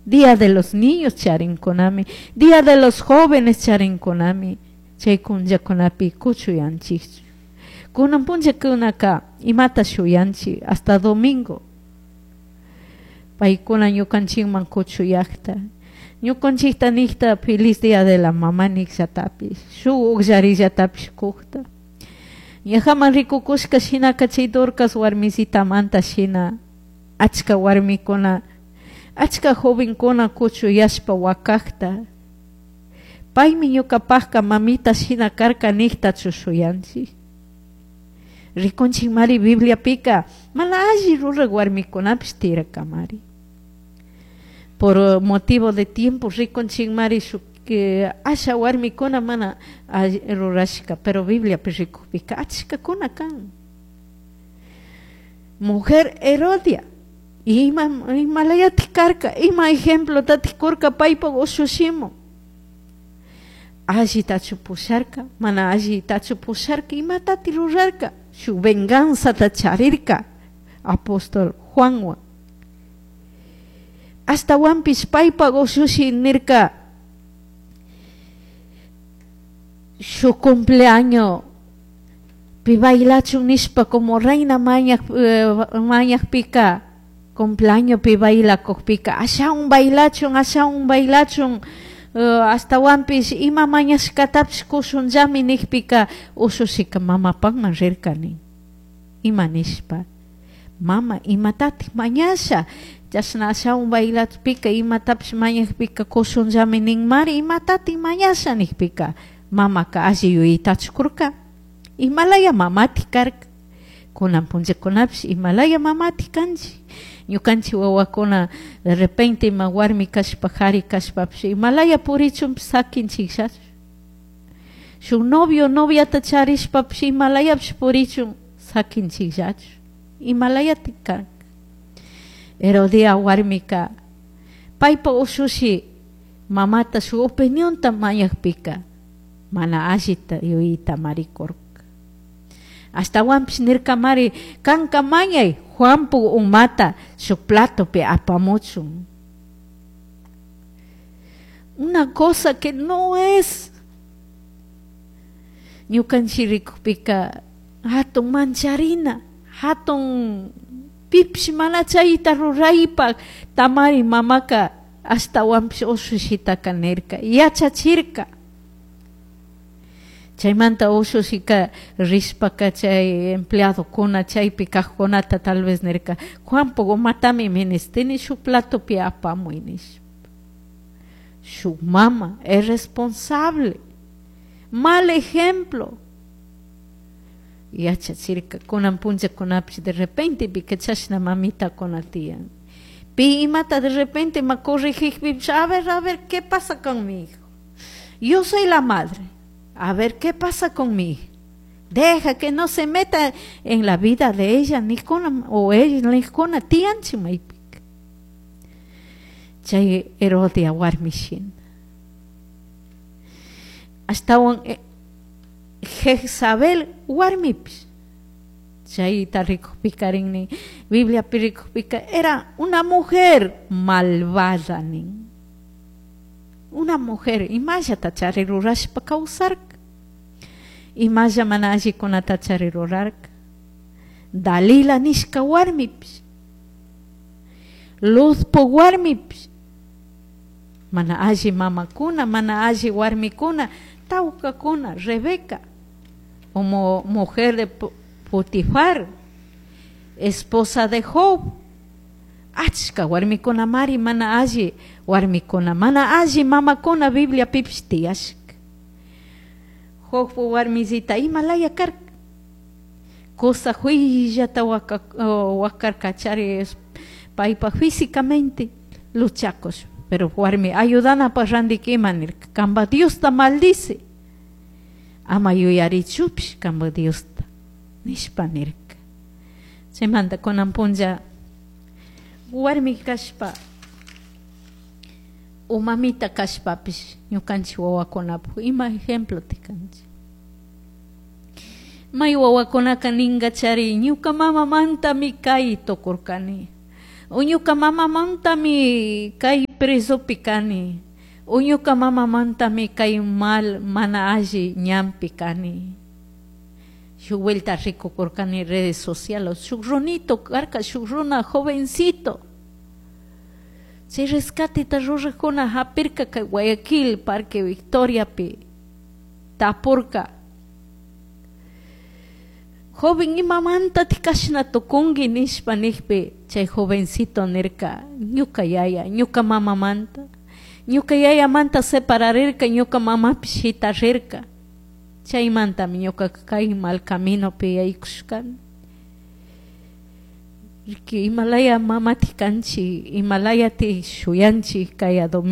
Día de los Niños charincunami, Día de los Jóvenes charincunami, chay punllakunapi kuchuyanchikchu. Kunan punllakunaka imata shuyanchik hasta domingo. Paykuna ñukanchikman kuchuyakta, ñukanchikta nikta feliz día de la mamá nikllatapish, shuk ukllarillatapish kukta. Ñajaman rikukushka shinaka chay Dorcas warmisitamanta shina achka warmikuna, achka jovenkuna kuchuyashpa wakakta. Paymi ñukapakka mamita shina karka niktachu shuyanchik. Rikunchikmari Bibliapika mana alli rurak warmikunapish tiyarkamari. Por motivo de tiempo rikunchikmari shuk asha warmikuna mana alli rurashka, pero Bibliapi rikukpika achkakuna kan. Mujer Herodia, ima imalayatik karka, ima ejemplotatik kurka paypak ushushimun. Allitachu pusharka, mana allitachu pusharka, imatati rurarka, shuk venganzata charirka apóstol Juanwan. Ashtawanpish paypak ushushi nirka shuk cumpleaños pi bailachun nishpa como reina mañakpika cumpleaños pi bailakukpika ashawan bailachun, ashawan bailachun, ashtawanpish ima mañashkatapish kushunllami nikpika ushushika mamapakman rirkani. Ima nishpa, mama imatatik mañasha, chashna ashawan bailachpika imatapish mañakpika kushunllami ninmari, imatatik mañasha nikpika mamaka alli yuyaytachu kurka. Imalaya mamatik karka. Kunan punllakunapish imalaya mamatik kanchik. Ñukanchik wawakuna de repente ima warmi kashpa jari kashpapish imalaya purichunpish sakinchikllachu. Shuk novio noviata charishpapish imalayapish purichun sakinchikllachu. Imalayatik karka. Herodia warmika paypa ushushi mamata shuk opinionta mañakpika mana allita yuyayta marikurka. Ashtawanpish nirkamari kanka mañay Juanpu umata shuk platopi apamuchun. Una cosa que no es. Ñukanchik rikukpika hatun mancharina, hatun pipish mana chayta ruraypak tamari mamaka ashtawanpish ushushitaka nirka, yachachirka. Chaymanta ushushika rishpaka chay empleadokuna chaypi kaqkunata tal vez nirka, Juanpuk umatami ministini shuk platopi apamuy nishpa. Shuk mama es responsable, mal ejemplo. Yachachirka kunan punllakunapish de repente pika chashna mamitakuna tiyan. Pi imata de repente ma corregijpipish, a ver, ¿qué pasa con mi hijo? Yo soy la madre. A ver, ¿qué pasa con mi hija? Deja que no se meta en la vida de ella, ni con o ella, ni con tianchi maypika. Chay Herodia warmi shina. Ashtawan Jezabel warmipish. Chayta rikukpikarin Bibliapi rikukpika era una mujer malvada nin. Una mujer imallata chari rurashpa kawsarka. Imalla mana allikunata chari rurarka. Dalila nishka warmipish. Luzpo warmipish. Mana alli mamakuna, mana alli warmikuna, tawkakuna, Rebeca, como mujer de Potifar, esposa de Job. Achka warmikuna mari mana alli warmikuna, mana alli mamakuna Biblia pipish tiyashka. Jobpo warmisita imalaya karka. Cosa huillata wakarka chari paypa físicamente luchakos, pero warmi ayudanapaq randika ima nirka, kanpa Diosta maldice. Ama yuyarichupish kanpa Diosta nishpa nirka. Chaymanta kunan punlla warmi kashpa o mamita kashpapish ñukanchik wawakunapuk ima ejemplo tikanchik. May wawakunaka ninka chari ñuka mamamantami kay tukurkani, o ñuka mamamantami kay presopi cani o ñuka mamamantami kay mal mana alli ñanpi kani. Shuk vuelta rikukurkani redes sociales shuk runito karka, shuk runa jovencito, chay rescateta rurajkuna hapirka kay Guayaquil Parque Victoriapi, tapurka: "Joven, imamantatik kashna tukunki?" nishpa nijpi, chay jovencito nirka: "Ñuka yaya, ñuka mamamanta, ñuka yayamanta separarirka, ñuka mamapish shitarirka, chaymantami ñukaka kay mal caminopi yaykushkani". Imalaya mamatik kanchik, imalayatik shuyanchik kaya domingo.